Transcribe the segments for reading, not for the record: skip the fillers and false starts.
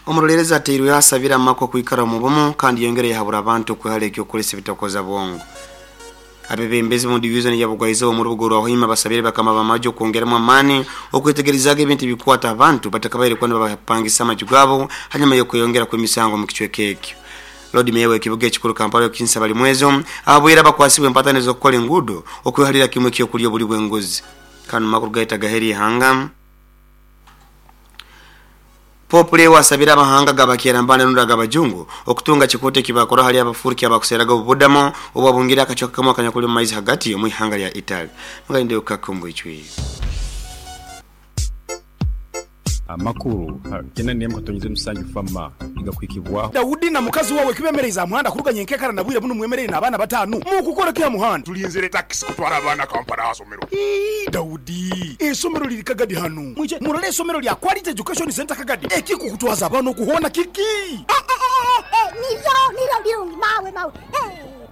Omuroleerezi ateirweho asabire amaka okwikara omu bumu kandi yongera yahabura abantu okwehala eky'okukozesa ebitokoza bwongo. Abebembezi mu divizoni ya Bugwaizoba omu rubuga orwa Hoima basabire bakama b'amaju okwongeramu amaani okwetegerezaaga ebintu ebikwata abantu batakabaire kuba nibabapangisa amaju gaabo hanyuma y'okweyongera kw'emisango omu kicweka ekyo. Lord Mayor w'ekibuga ekikuru Kampala Okinsa Balimwezo ahabwire abakwasibwe empatani ez'okukora enguudo okwehalira kimwe eky'okulya obuli bw'enguzi. Kanu makuru gaitu agaheri ihanga. Pope Leo asabire amahanga g'abakyerambanda rundi ag'abajungu okutunga kikooto ekibakora hali abafuruki abakuseeraga obubudamo obwabungire akacweka kamu akanyakuli omu maizi hagati omu ihanga lya Italy. Mugalinde Ukaka omu bwijwire. Amakuru kyenda n'emwe katonyeze musanju FAMA nigakuhikibwaho. Daudi na mukazi wawe kibemereize aha muhanda kuruga nyenkekara na bwire bunu mwemereire n'abaana bataanu. Mukukora ki aha muhanda? Tulinzire takisi kutwara abaana Kampala aha somero. Ii, Daudi, eisomero liri Kagadi hanu. Mwije murole eisomero lya Quality Education Centre Kagadi. Ekikukutwaza abaana okuhoona kiki? Nibyo, nibyo birungi mawe mawe.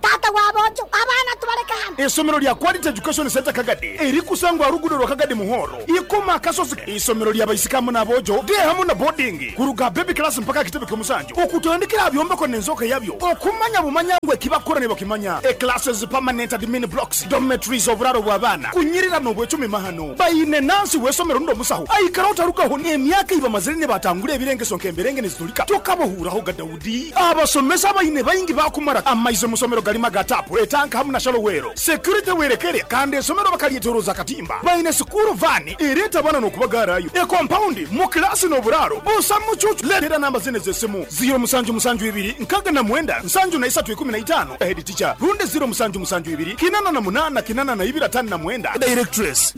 Taata wa boojo, abaana tubaleke hanu. Eisomero lya Quality Education Centre Kagadi erikusangwa aha luguudo rwa Kagadi Muhoro, Ikoma Akasozi. Eisomero lya baisiki hamu n'aboojo, day hamu na boarding, kuruga aha baby class mpaka aha kitebe ky'omusanju, okutandikira aha byombeko n'enzooka yabyo, okumanya bumanya ngu ekibakukora nibakimanya. E Classes, permanent admin blocks, dormitories, oburaaro bw'abaana, kunyirira n'obwecumi mahano. Baine nansi w'eisomero rundi omusaho aikara otarugaho n'emyaka ei bamazire nibatangura ebirengeso nk'emberenge nizitulika tokabahuuraho ga Daudi. Abasomesa abaine baingi baakumara amaizi omu somero garimu aga taapu, etanka hamu na shallow well. Security werekere kandi esomero bakalyetoroza akatimba. Baine sikuuru vaani ereeta abaana n'okubagaarayo. Ekompaundi mu kilaasi n'oburaaro busa mucuucu. Leetera namba zinu ez'esimu, ziiro musanju musanju ibiri nkaaga na mwenda nsanju na isatu ikumi na itaano, Head teacher, rundi ziiro musanju musanju ibiri kinana na munaana kinana na ibiri ataano na mwenda, Directress.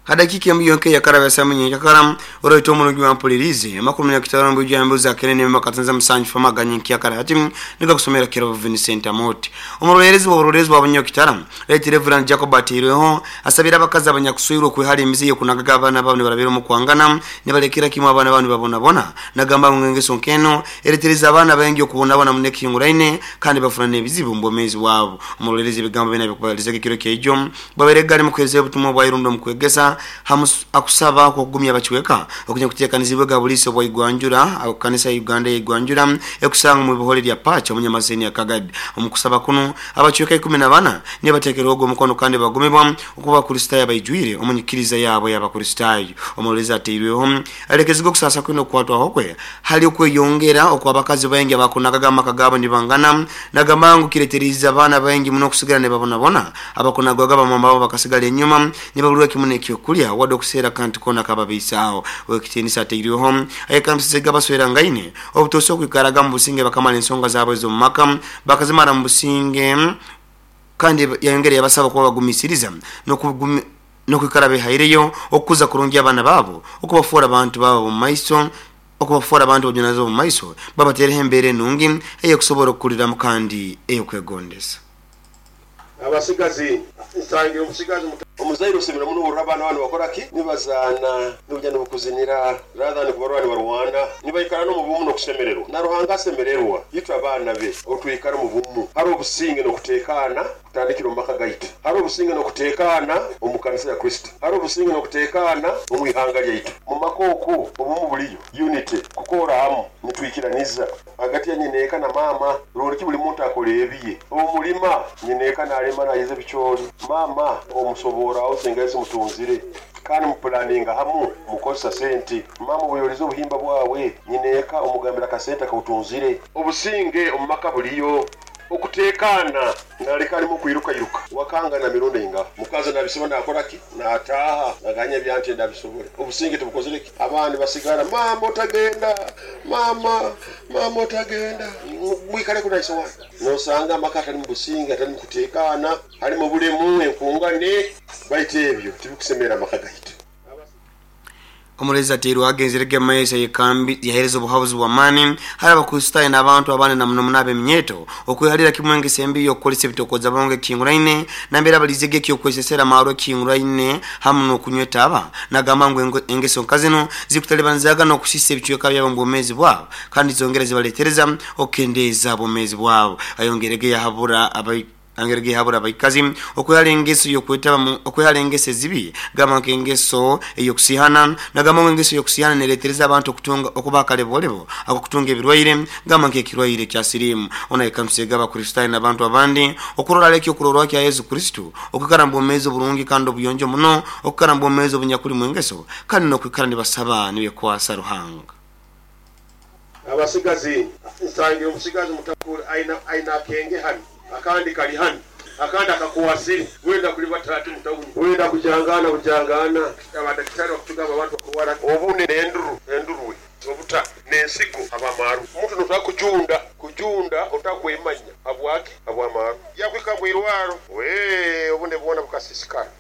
Ha dakiika emu yonka eyakaraba esamu nyenkakara, oroito omurungi wampuliriize, amakuru munyakitara omu bwijwire ambuzi akene n'emwe katanza musanju fama aganye nkyakara hati nigakusomera Kirobo Vincent Amooti. Omuroleerezi w'oburoleerezi bwa Bunyakitara, Right Rev Jacob Ateirweho asabire abakazi abanyakuswirwe okwehara emize y'okunagaga abaana baabo nibarabira omu kwangana nibalekera kimwe abaana baabo nibabonabona. Nagamba ngu engeso nk'eno eretereza abaana baingi okubonabona muno ekihinguraine kandi bafuna n'ebizibu omu bwomeezi bwabo. Omuroleerezi ebigambo binu abikubalizaga ekiro kyaijo Bwabaire gali mu kuheereza obutumwa obwa irundo omu kwegesa hamu akusaba okw'okugumya abacweka okunya kuteekanizibwe ga buliisa obwa Igwanjura Kanisa ya Uganda eya Igwanjura ekusangwa omu ibohole lya Pacha omu Nyamaseni ya Kagadi. Omu kusaba kunu, abacweka 14 nibateekerwahoga omukono kandi bagumibwa okuba Abakristaayo abaijwire omu nyikiriza yaabo ey'Abakristaayo. Omuroleerezi atairweho alekezibwe okusaasa kwe n'okukwatwaho kwe hali okweyongera okw'abakazi baingi abakunagaga amaka gaabo nibangana. Nagamba ngu kireteriize abaana baingi muno okusigara nibabonabona. Abakunagwaga bamama babo bakasigara enyuma nibaburwa kimu n'ekyokulya wadde okuseera akantu koona akababaisaaho. Ow'ekitiinisa atairweho ayekambisizege abaswerangaine obutoosa okwikaraga omu businge bakamara ensonga zaabo ez'omu maka bakazimara omu businge kandi yayongera yabasaba kuba bagumiisiriza n'okwikara behaireyo okukuza kurungi abaana baabo okubafoora bantu baabo ab'omu maiso okubafoora bantu b'obujunanizibwa omu maiso babateereho embeera enungi ey'okusobora okukuliramu kandi ey'okwegondeza. Abasigazi, Nsangira omusigazi muto. Omuzaire osemera muno ohurira abaana baawe nibakora ki? Nibazaana, nibaija nibakuzinira rather than kubarora nibarwana. Nibaikara n'omu bumu n'okusemererwa. Na Ruhanga asemererwa itwe abaana be obu twikara omu bumu. Hariho obusinge n'okutekaana kutandikira omu maka gaitu. Hariho obusinge n'okutekaana omu kanisa ya Kristo. Hariho obusinge n'okutekaana omu ihanga lyaitu. Mu maka oku obumu buriyo, unity, kukoora hamu, nitwikiraniza. Hagati ya nyineeka na maama, rundi ki buli muntu akora ebiye. Omu mulima, nyineeka nalima nayeza ebicoori, maama omusoboora aho senga ezi mutunzire kandi mupulaninga hamu mukozesa sente. Maama obuyolize obuhimba bwawe, nyineeka omugambira akasente akautunzire. Obusinge omu maka buliyo. Okutekaana. Naleka alimu kwirukairuka. Wakangana mirundi eingaha? Mukazi nabisiba nakora ki? Nataaha naganya ebyanti ndabisobole. Obusinge tibukozire ki? Abandi basigara, Maama otagenda, maama, maama otagenda. Mwikaleku na ise wanyu. Nosanga amaka atalimu businge, atalimu kutekaana, halimu obulemu, enkungane. Baitu ebyo tibikusemerra amaka gaitu. Omurezi atairweho agenzerege omu maiso ayekambi yahereza obuhabuzi bw'amaani hali Abakristaayo n'abantu abandi na muno muno ab'eminyeeto okwehalira kimu engeso embi y'okukozesa ebitokooza bongo ekihinguraine nambere abaliizege eky'okwesesera amaarwa ekihinguraine hamu n'okunywa etaaba nagamba ngu engeso nka zinu zikutalibanizaaga n'okusiisa ebicweka byabo omu bwomeezi bwabo kandi zongera zibaletereza okukendeeza obwomeezi bwabo. Ayongerege yahabura. Angere gihabura abaikazi okwehara engeso yokwetaba okwehara engeso ezibi gamba nk'engeso ey'okusihana nagamba ngu engeso y'okusihana neretereza abantu okutunga okuba akalebolebo akukutunga ebirwaire gamba nk'ekirwaire kya sirimu. Ona ekamusega abakristaayo n'abantu abandi okurora aleki okurorwa kya Yesu Kristo okwikara mu bwomeezi oburungi kandi obuyonjo muno okwikara mu bwomeezi obunyakuli mu engeso kandi n'okwikara nibasaba nibekwasa Ruhanga. Abasigazi nsangire omusigazi mutakuli aina akenge hanu akandi kali hanu akandi akakwasire wenda kulibata ati mutawuni wenda kujangana bujangana abadakitari bakutugamba abantu bakurwara obune nenduru endurwe obuta nensigo abamaru omuntu notakujunda kujunda otakwemanya habwaki habwamaru yakwika mwirwaro we obune bwona bukasisikara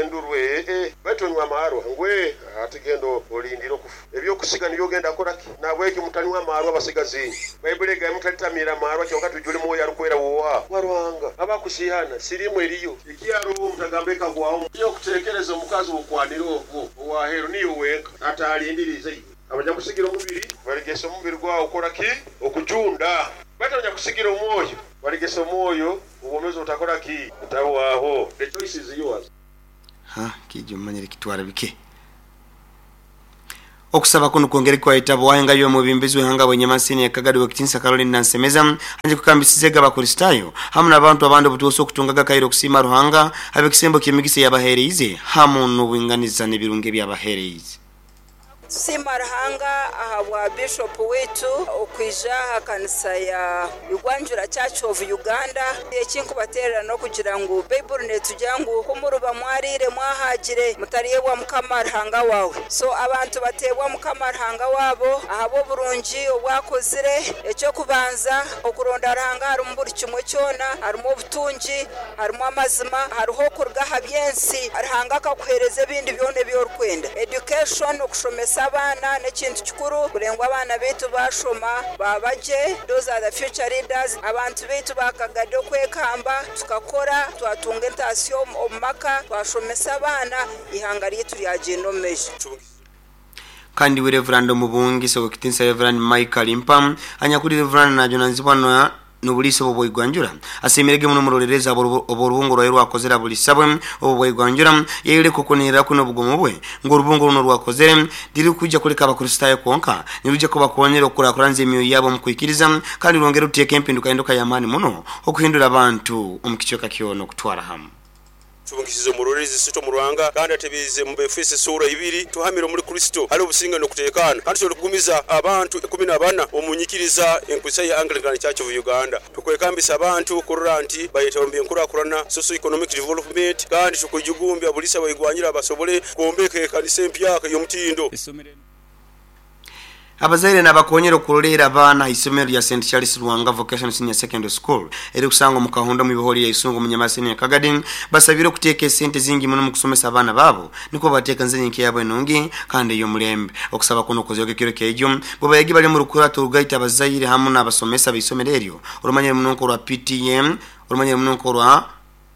endurwe baitu onywa amarwa ngwe atigendo olindira okufa ebyokusiga nibyo ogenda koraki nabweki mutanywa amarwa abasigazi Baibuli egamba mutalitamira amarwa kyonka tujule mwoyo arukwera wowa waruhanga abakusihana sirimu eriyo ekyaro mutagamba ekagwaho yokutekereza omukazi wokwanira ogwo owahero niyo wenka atalindirize iwe abanyakusigira omubiri baligesa omubiri gwawo okoraki okujunda baitu abanyakusigira omwoyo baligesa omwoyo obwomezi otakoraki otabwaho. The choice is yours. Ha kijo manyire kitwara bike. Okusaba kuno kwongere kwayitabo wahenga yo mubimbizi wehanga bwenyamasini yakagadi wekitinsa Caroline Nansemeza anje kukambisize abakristaayo hamu n'abantu abandi obutuusa okutungaga kairo okusiima Ruhanga abekisembo ky'emigisa yabahereize hamu n'obwinganiza n'ebirungi ebyabahereize. Tusiima Ruhanga ahabwa Bishop witu okwija aha kanisa ya Igwanjura Church of Uganda. Ekinkubaterera n'okugira ngu Baibuli netugira ngu ku muruba mwariire mwahagire mutaryebwa Mukama Ruhanga wawe. So abantu bateebwa Mukama Ruhanga wabo ahabw'oburungi obwakozire. Eky'okubanza okuronda Ruhanga harimu buri kimwe kyona, harimu obutungi, harimu amazima, hariho okuruga aha by'ensi. Ruhanga akakuheereza ebindi byona ebi orikwenda. Education, okushomesa abaana n'ekintu kikuru kugira ngu abaana baitu bashoma baba gye. Those are the future leaders. Abantu baitu bakagada okwekamba tukakora twatunga entasyo omu maka twashomesa abaana ihanga ryaitu ryagenda omu maisho. Kandi we Reverand Omubungisa owekitinsa Reverand Michael Impa anyakuli Reverand najunanizibwa na n'obuliisa obwo bwaigwanjura asiimirege muno omurolerezi obw'orubungo rwaye rwakozere abuliisa bwe obwo bwaigwanjura yayoleka okunihirira kwe n'obugumu bwe ngu orubungo runo rwakozere ntirukwijja kuleka abakristaayo kwonka nirujja kubakonyera okukurakuranza emyoyo yabo omu kwikiriza kandi rwongere ruteeka empinduka enduka y'amaani muno okuhindura abantu omu kicweka kyona okutwara hamu. Tubungisize omurorezi sito mu Ruhanga kandi atebiize mu Befeso esuura ibiri, tuhamire omuri Kristo hali obusinge n'okuteekaana kandi tusobole kugumiza abantu 14 omu nyikiriza enkwisa ya Anglican Church of Uganda. Tukwekambisa abantu kurora nti bayetaba mu by'enkurakurana, socio economic development, kandi tukujugumbya bulisa baigwanyira basobole kwombeka ekanisa empyaka ey'omutindo. Abazaire n'abakonyera okuroleera abaana aha isomero lya St Charles Lwanga Vocational Senior Secondary School erikusangwa omu Kahunda omu ibihori lya Isungu omu Nyamasini ya Kagadi basabire okuteeka esente zingi muno omu kusomesa abaana baabo nikwo bateekanize nyenka yabo enungi kandi ey'omulembe. Okusaba kuno kukozerwe ekiro kyejo bwe bayegi bali omu rukurato orugaita abazaire hamu n'abasomesa b'isomero eryo orumanyire muno nk'orwa PTM orumanyire muno nk'orwa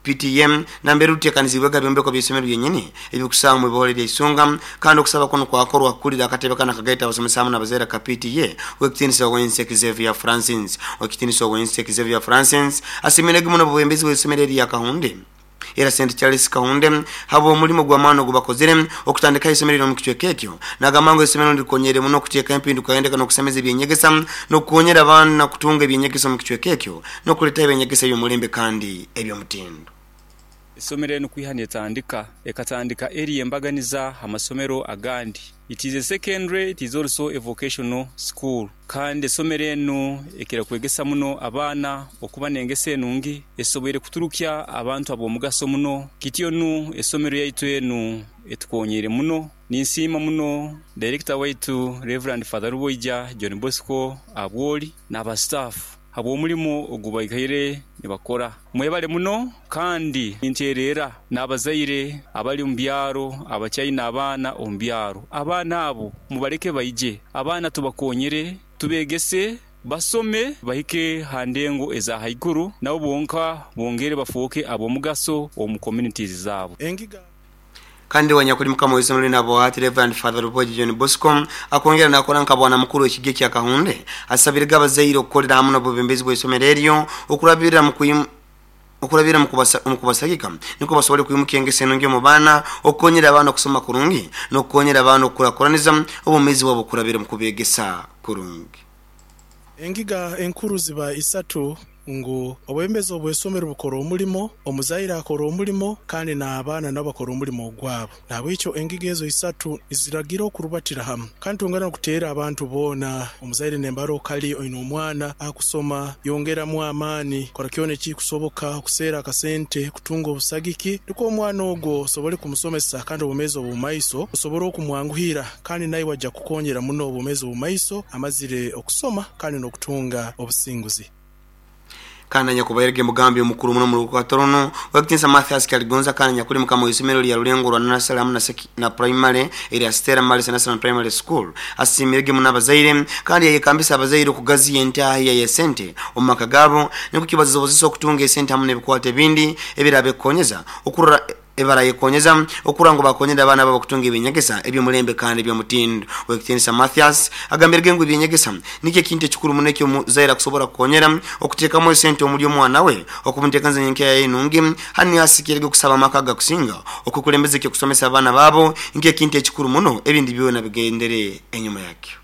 PTM nambere ruteekanizibwega ebyombeko by'isomero byenyini ebikusangwa mu ibihore lya Isunga kandi okusaba kuno kwakorwa kukulira akatebe kana akagaita abasomesa hamu n'abazaire ka PTA owekitinisa Owense Xavier Francis. Owekitinisa Owense Xavier Francis asiimirege muno obwebembezi bw'isomero erya Kahunde era St Charles Kahunde habw'omulimo gw'amaani ogubakozere okutandikaho isomero eryo omu kicweka ekyo. Nagamba ngu isomero nirikonyere muno okuteeka empinduka endeka n'okusemeza ebyenyegesa n'okukonyera abaana kutunga ebyenyegesa omu kicweka ekyo n'okuleetaho ebyenyegesa eby'omulembe kandi eby'omutindo. Esomero enu kwiha netandika, ekatandika eri embaganiza ha masomero agandi. It is a secondary, it is also a vocational school. Kandi esomero enu ekira kwegesa muno abaana okuba n'engeso enungi esoboire kuturukya abantu ab'omugaso muno. Kityo nu esomero yaitu enu etukonyeire muno. Ninsiima muno Director waitu Rev. Father Ruboija John Bosco ahabw'oli n'aba staff habw'omulimo ogu baikaire nibakora. Mwebale muno kandi ninteererra n'abazaire abali omu byaro abakyaine abaana omu byaro. Abaana abo mubaleke baije, abaana tubakonyere, tubegese, basome bahike ha ndengo eza haiguru nabo bonka bongere bafooke ab'omugaso omu communities zaabo. Kandi wanyakuli mukama w'isomero linu Abohati Rev. Father Ruboji John Bosco akongera nakora nka bwana mukuru w'ekigi kya Kahunde asabirege abazaire okukolera hamu n'obwebembezi bw'isomero eryo okurabirira mu Okurabira omu kubasagika nukwo basobole kwimukya engeso enungi omu baana, okukonyera abaana okusoma kurungi n'okukonyera abaana okukurakuraniza obwomeezi bwabo okurabira omu kubeegesa kurungi. Engiga enkuru ziba isatu ngu obwebembezi obw'eisomero bukora omulimo, omuzaire akora omulimo kandi n'abaana nabo bakora omulimo ogwabo. Nahabwekyo engiga ezo isatu niziragira okurubatira hamu. Kandi twongera n'okuteera abantu boona, omuzaire nembara okali oine omwana akusoma, yongeramu amaani, kora kyona ekikusoboka okuseera akasente kutunga obusagiki nukwo omwana ogwo osobole kumusomesa kandi obwomeezi obw'omumaiso busobole okumwanguhira kandi naiwe aja kukukonyera muno obwomeezi obw'omumaiso amazire okusoma kandi n'okutunga obusinguzi. Kandi anyakubairege mugambi omukuru muno omu rukwata runu, Ow'ekitinisa Mathias Kyaligonza kandi anyakuli mukama w'isomero lya Rulengo rwa Nursery hamu na Primary erya Stella Maris Nursery and Primary School asiimirege muno abazaire kandi yayekambisa abazaire okugaziya entaahiya y'esente omu maka gaabo nikwo kibasobozesa okutunga esente hamu n'ebikwato ebindi ebirabekonyeza okurora Ebarayekonyeza okurora ngu bakonyera abaana babo kutunga eby'enyegesa eby'omulembe kandi eby'omutindo. Ow'ekitiinisa Mathias agambirege ngu eby'enyegesa nikyo ekintu ekikuru muno eki omuzaire akusobora kukonyera okuteekamu esente omuli omwana we okumuteekaniza nyenkya yaye enungi. Hanu niho asikirege okusaba amaka agakusinga okukulembeza eky'okusomesa abaana baabo nk'ekintu ekikuru muno ebindi byona bigendere enyuma yakyo.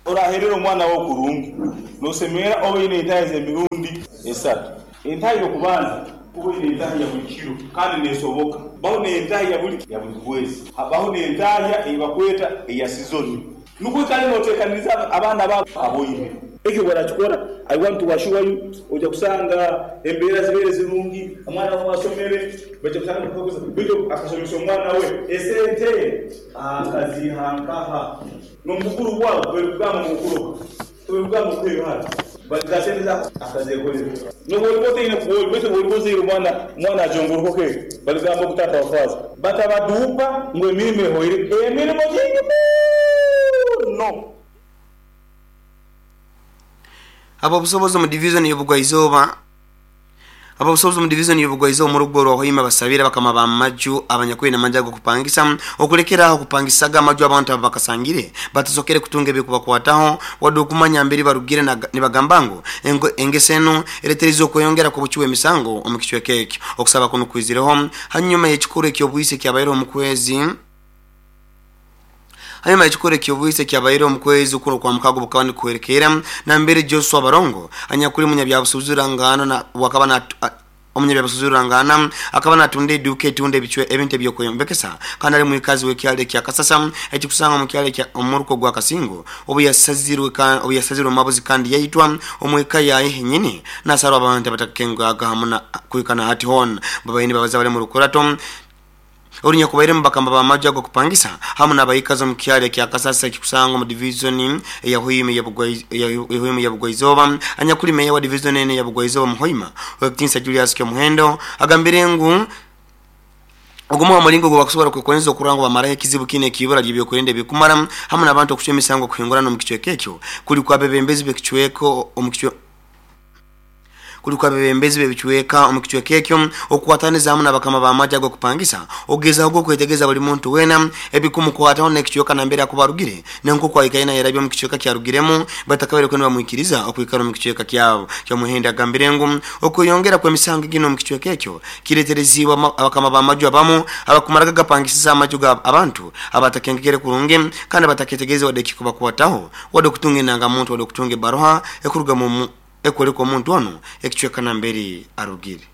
Oraherera omwana wo kurungi, nosemerera obe oine entahi z'emirundi esatu. Entahi y'okubanza, kuba oine entahi ya buli kiro kandi nesoboka. Baho n'entahi ya buli kwezi. Habaho n'entahya ei bakweta eya sizoni. Nukwo oikale notekaniriza abaana babo aboine. Ekyo bw'orakikora, I want to assure you, oija kusanga embeera zibaire zirungi, omwana wawe asomere, baija kusanga baitu akasomesa omwana we esente akaziiha nkaha? N'omu bukuru bwabo tibarikugamba ngu okuroga, tibarikugamba okuha ebihara, bati za sente zaabo akazeekorera. N'obu oriba otaine ku ori, baitu obu oriba ozaire omwana, omwana ajongorokoka eka, barigamba ogu taata wa faaza. Batabaduupa ngu emirimo ehoire, emirimo nyingi muno. Ab'obusobozi omu divizoni y'Obugwaizooba. Ab'obusobozi omu divizoni y'Obugwaizooba omu rugo rwa Hoima basabire abakama b'amaju abanyakwine amaju ag'okupangisa okulekera aho kupangisaga amaju abantu ababakasangire batasokere kutunga ebikubakwataho wadde okumanya mberi barugire nibagamba ngu engeso enu ereterize okweyongera kw'obucwi bw'emisango omu kicweka ekyo. Okusaba kunu kwizireho hanyuma y'ekikorwa eky'obwisi ekyabaireho omu kwezi Hanyuma y'ekikorwa eky'obwisi ekyabaireho omu kwezi kuno okwa mukaaga obukaba nikuhwerekerra nambere Joshua Barongo anyakuli munyabyabusubuzi ruranganwa na obwakaba na omunyabyabusubuzi rurangaana akaba natunda eduuka etunda ebicwe ebintu eby'okweyombekesa kandi ali mwikazi w'ekyaro ekya Kasasa ekikusangwa omu kyaro ekya omuruka ogwa Kasingo obuyasazirwe obuyasazirwe omu mabuzi kandi yaitwa omu eka yaye henyini nasarwa abantu abatakakengwaga hamu na kuhika na hati hoona babaire nibabaza bali omu rukurato Orunyakubairemu bakama b'amaju ag'okupangisa hamu n'abaikazi omu kyaro ekya Kasasa ekikusangwa omu divizoni eya Hoima eya Bugwaizooba. Anyakuli meeya wa divizoni enu eya Bugwaizooba omu Hoima, Owekitiinisa Julius Kyomuhendo agambire ngu ogumu ha mulingo ogubakusobora kwekonyeza okurora ngu bamaraho ekizibu kinu eky'ibura ly'ebyokwerinda ebikumara hamu n'abantu okucwa emisango kuhingurana omu kicweka ekyo kuli kw'abebembezi b'ekicweka omu Kuli kw'abebembezi b'ebicweka omu kicweka ekyo okukwataniza hamu n'abakama b'amaju ag'okupangisa okugezahoga okwetegeza buli muntu wena ebikumukwataho n'ekicweka nambere akuba arugire na nk'oku aikaire nayerabya omu kicweka kyarugiremu batakabaire kuba nibamwikiriza okwikara omu kicweka kyabo. Kyomuhendo agambire ngu okweyongera kw'emisango eginu omu kicweka ekyo kiretereziibwe abakama b'amaju abamu abakumaraga gapangisiza amaju ga abantu abatakengekere kurungi kandi abataketegereze wadde ekikubakwataho wadde okutunga endangamuntu wadde okutunga ebaruha ekuruga mu Ekwoleka omuntu onu ekicweka nambere arugire.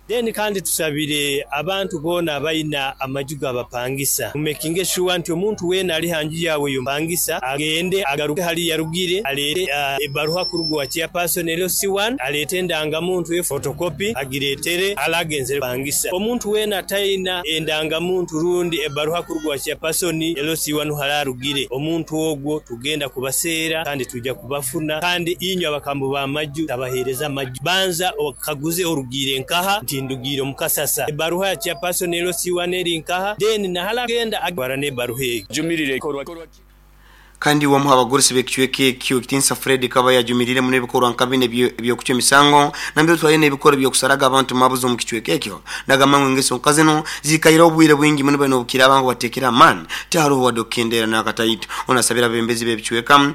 Then kandi tusabire abantu boona abalina amaju gabapangisa mu makinge sure nti omuntu weena ali ha nju yaawe yomupangisa agende agaruke hali yarugire aleete ebaruha kuruga owa chairperson LC1 aleete endangamuntu ye photocopy agireetere ale agenzere kupangisa. Omuntu weena atalina endangamuntu rundi ebaruha kuruga owa chairperson LC1 hali arugire omuntu ogwo tugenda kubaseera kandi twija Kubafuna, kandi inywe abakambu b'amaju tabaheereza maju. Banza okaguze orugiire nkaha? Nti ndugiire omu Kasasa. Ebaruha ya chairperson LC1 eri nkaha? Then nahala agenda atwara n'ebaruha egyo. Jumirira ekikorwa kinu. Kandi omu ha bagurusi b'ekicweka ekyo, Ekitiinisa Fred Kabaya ajumirire muno ebikorwa nka binu eby'okucwa emisango nambere otwaliire n'ebikorwa eby'okusaraga abantu mabuzi omu kicweka ekyo. Nagamba ngu engeso nka zinu ziikaireho obwire bwingi muno bali n'obukiraaba ngu bateekere amaani tiharoho wadde okukendeera n'akataito. Onu asabire abebembezi b'ebicweka.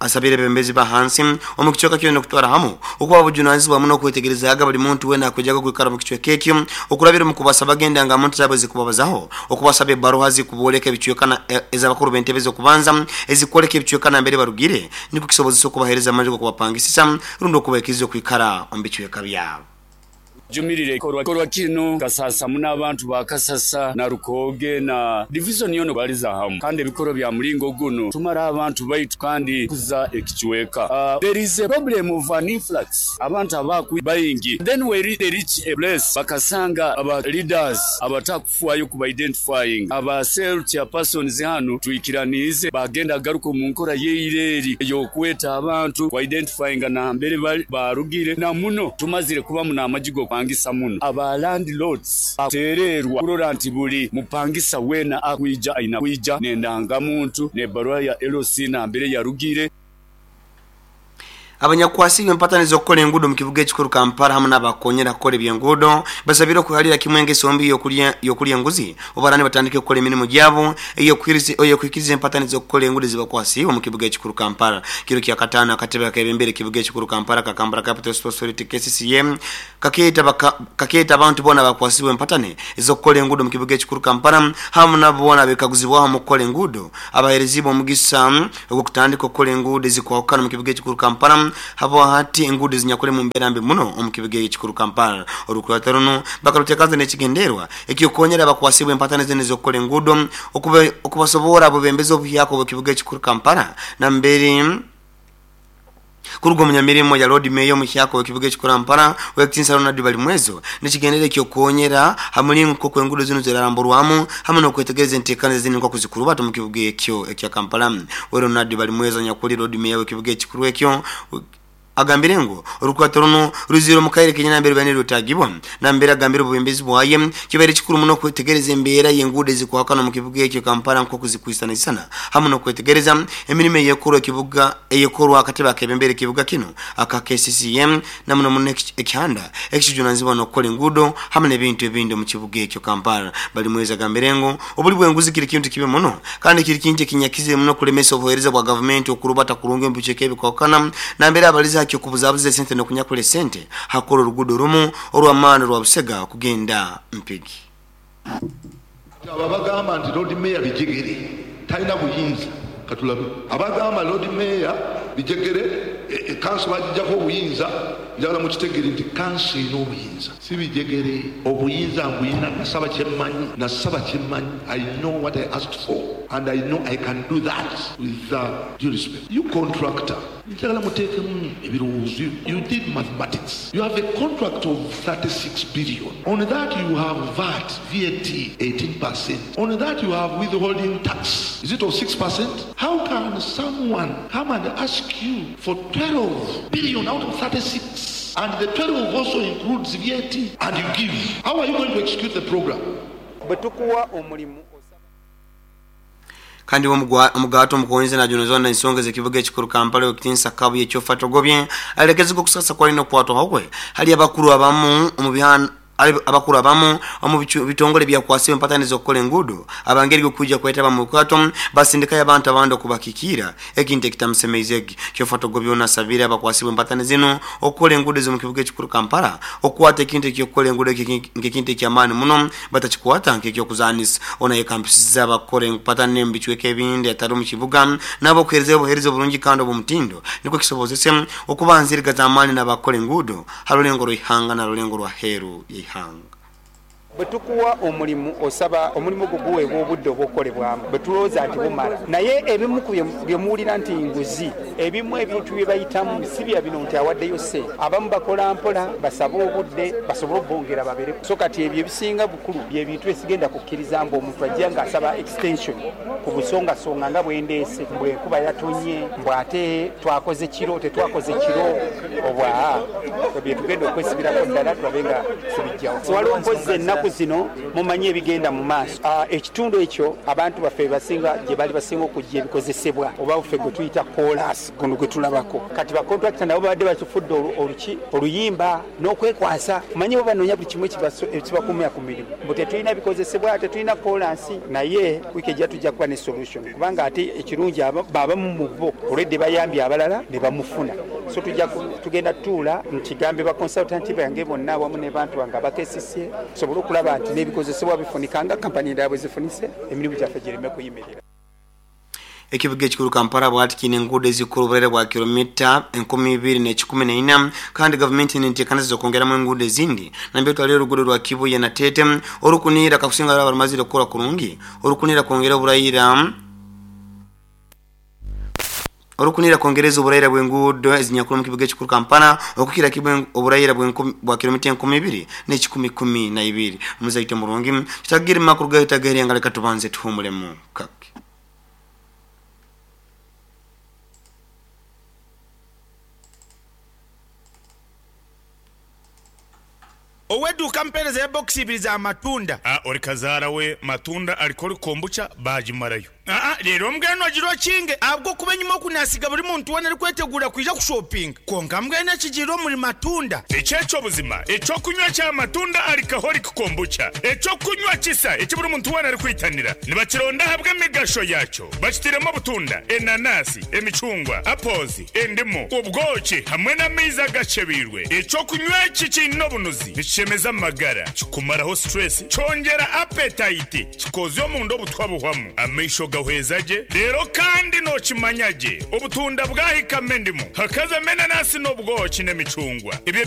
Asabire abebembezi ba hansi omu kicweka kyona okutwara hamu okuba bujunanizibwa muno okwetegerezaga buli muntu wena akwijaga kwikara mu kicweka ekyo okurabira omu kubasaba genda nga muntu zabo zikubabazaho okubasaba ebbaruha zikuboleka ebicweka ez'abakuru b'entebe z'okubanza ezikwoleka ebicweka nambere barugire nikwo kisobozesa okubahereza amaju g'okubapangisisa rundi okubaikiriza okwikara omu bicweka byabo. Jumirire ekikorwa kino Kasasa muno abantu ba Kasasa na Rukooge na divizoni yoona baliza hamu kandi ebikorwa bya mulingo gunu tumara abantu baitu kandi kuza ekicweka. There is a problem of an influx abantu abaku baingi then we they reach a place bakasanga aba leaders abatakufwayo kuba identifying aba cell chairpersons hanu twikiraniize bagenda garuka omu nkora yeira eri eyokweta abantu ku identifyinga nambere bali barugire na muno tumazire kubamu n'amaju g'okupangisa muno. Aba landlords bateererwa kurora nti buli mupangisa weena akwija aina kwija n'endangamuntu n'ebbaruha ya LC nambere yarugire. Abanyakukwasibwa empatani z'okukora enguudo omu kibuga ekikuru Kampala hamu n'abakukonyera kukora eby'enguudo basabire okwehalira kimwe engeso mbi y'okulya enguzi obu batandike kukora emirimu gyabo ey'okuhikiriza empatani z'okukora enguudo ezibakwasiibwe omu kibuga ekikuru Kampala. Kiro kya kataano akatebe akebembera ekibuga ekikuru Kampala ka Kampala Capital City Authority KCCA kakeeta abantu boona abakwasibwa empatani ez'okukora enguudo omu kibuga ekikuru Kampala hamu nabo boona abekaguzibwaho omu kukora enguudo abaherezibwe omugisa ogw'okutandika okukora enguudo ezikwahukana omu kibuga ekikuru Kampala habwa hati enguudo ezinyakuli mu mbeera mbi muno omu kibuga ekikuru Kampala. Orukurata runu bakaruteekaza n'ekigenderwa eky'okukonyera abakwasibwa empatani zinu ez'okukora enguudo okubasobora abebembezi obuhyaka obw'ekibuga ekikuru Kampala nambere kuruga omunyamirimo ya Lord Mayor omuhyaka w'ekibuga ekikuru Kampala Owekitinisa Ronald Balimwezo n'ekigendero eky'okukonyera ha mulingo nk'oku enguudo zinu ziraramburwamu hamu n'okwetegereza enteekaniza zinu nk'oku zikurubata omu kibuga ekyo ekya Kampala. We Ronald Balimwezo anyakuli Lord Mayor w'ekibuga ekikuru ekyo agambire ngu orukurato runu ruzire omu kaire kenyini nambere rubaire nirwetagibwa nambere agambire obubembezi bwaye kibaire kikuru muno okwetegereza embeera y'enguudo ezikwahukana omu kibuga ekyo Kampala nk'oku zikwisanaisana hamu n'okwetegereza emirimo eyekorwa ekibuga eyekorwa akatebe akebembera ekibuga kinu aka KCCA na muno muno ekihanda ekijunanizibwa n'okukora enguudo hamu n'ebintu ebindi omu kibuga ekyo Kampala. Balimwezo agambire ngu obuli bw'enguzi kiri kintu kibi muno kandi kiri kintu ekinyakizire muno kulemesa obuheereza bwa gavumenti okurubata kurungi omu bicweka ebikwahukana nambere abaliza hakyo okubuzabuza esente n'okunyakula esente hakukora oruguudo rumu orw'amaani orwa Busega kugenda Mpigi. Abo abagamba nti Lord Mayor Bijegere talina buyinza katulabe. Abagamba Lord Mayor Bijegere kanso bagijjako obuyinza, njagala mukitegere nti kanso erina obuyinza, si Bijegere. Obuyinza mbuyina, nasaba kyemmanyi, nasaba kyemmanyi. I know what I asked for and I know I can do that with due respect. You contractor, njagala muteekemu ebirowoozo. You did mathematics. You have a contract of 36 billion. On that you have VAT, VAT 18%. On that you have withholding tax. Is it of 6%? How can someone come and ask you for 12 billion out of 36? And the 12 also includes VAT, and you give. How are you going to execute the program? Bwe tukuwa omulimu osaba. Kandi omugato omukonzi najunozwa ensonga z'ekibuga ekikuru Kampala Owekitinisa Kabuye Kyofatogobye alekezibwa okusasa kwalina okukwatwaho kwe hali abakuru abamu omu bihana abakuru abamu omu bitongole byakwasibwa empatani z'okukola enguudo abangeri okuija kwetaba mu bukwato basindikayo abantu abandi okubakikira ekintu ekitamusemeize. Kyofatogobye ono asabire abakwasibwa empatani zino okukola enguudo z'omu kibuga ekikuru Kampala okukwata ekintu ekyokukola enguudo nk'ekintu ekyamaani muno batakikwata nk'ekyokuzanisa. Ono yekampisiza abakukora empatani mu bicweka ebindi atari omu kibuga nabo okuheereza obuheereza obulungi kandi obw'omutindo nikwo kisobozese okubanziriga z'amaani n'abakukora enguudo ha rulengo rw'ihanga na rulengo rwa heeru y'ihanga. Bwe tukuwa omulimu osaba omulimu ogwo guweebwa obudde obw'okukolebwamu bwe tulowooza nti bumala. Naye ebimu ku bye muwulira nti nguzi, ebimu ebintu bye bayitamu si bya bino nti awaddeyo ssente. Abamu bakola mpola basabe obudde basobole obongera babeere. So kati ebyo ebisinga bukulu bye bintu bye sigenda kukkiriza mbu omuntu ajja ng'asaba extension ku busongasonga nga bwe ndeese mbu enkuba yatonye mbu ate twakoze kiro tetwakoze kiro obwa bye tugenda okwesibirako ddala tulabe nga tubijjawo. Waliwo mpozzi ennaku Ennaku zino mumanyi ebigenda mu maaso. Ekitundu ekyo abantu baffe bebasinga gye bali basinga okujja ebikozesebwa oba ffe gwe tuyita koolaasi guno gwe tulabako. Kati bakontulakita nabo babadde bakifudde oluki oluyimba n'okwekwasa. Omanyi bo banoonya buli kimu ekibakumira ku mirimu mbu tetulina bikozesebwa, tetulina koolaasi, naye wiiki ejja tujja kuba ne solution kubanga ate ekirungi abamu mu bo already bayambye abalala ne bamufuna. So tujja tugenda tutuula nkigambe ba consultant bange bonna awamu ne bantu bange aba KCCA tusobole okulaba nti n'ebikozesebwa bifunika nga kampani endala bwe zifunise, emirimu gyaffe gireme kuyimirira. Ekibuga ekikuru Kampala bwati kiine enguudo ezikukora oburere bwa kilomita 2104 kandi gavumenti nenteekaniza okwongeramu enguudo ezindi nambere twaliyo oruguudo rwa Kibuye na Tete orukuniira kakusinga rwaba rumazire kukora kurungi orukuniira kwongera oburayira orukuniira kwongereza oburayira bw'enguudo ezinyakuri omu kibuga ekikuru Kampala okukira kimwe oburayira bwa kilomita 2112. Muzaite murungi tutagire makuru gayo tagaire nga leka tubanze tuhumulemu kake. Ow'edduuka mpeereza ya bokisi ibiri za matunda. Ori kazaara we matunda alikoli kombucha baagimarayo. Aa reero mbwenu ogira okinge ahabw'okuba enyima oku naasiga buri muntu weena arikwetegura kwija kushopinga. Kwonka mbwenu ekigiire omuri matunda. Eki eky'obuzima eky'okunywa kya matunda alcoholic kombucha. Eky'okunywa kisa eki buri muntu weena arikwitanira. Nibakironda ahabw'emigasho yaakyo. Bakitairemu obutunda, enanasi, emicungwa, apples, endimu, obwoki hamwe n'amaizi agakyebeirwe. Eky'okunywa eki kiine obunuzi, nikishemeza amagara, kikumaraho stress, kyongyera appetite, kikoozya omunda obutwa buhwamu, amaisho gahweza gye, reero kandi nookimanya gye obutunda bwahikamu endimu, hakazamu enanasi n'obwoki n'emicungwa. Ebyo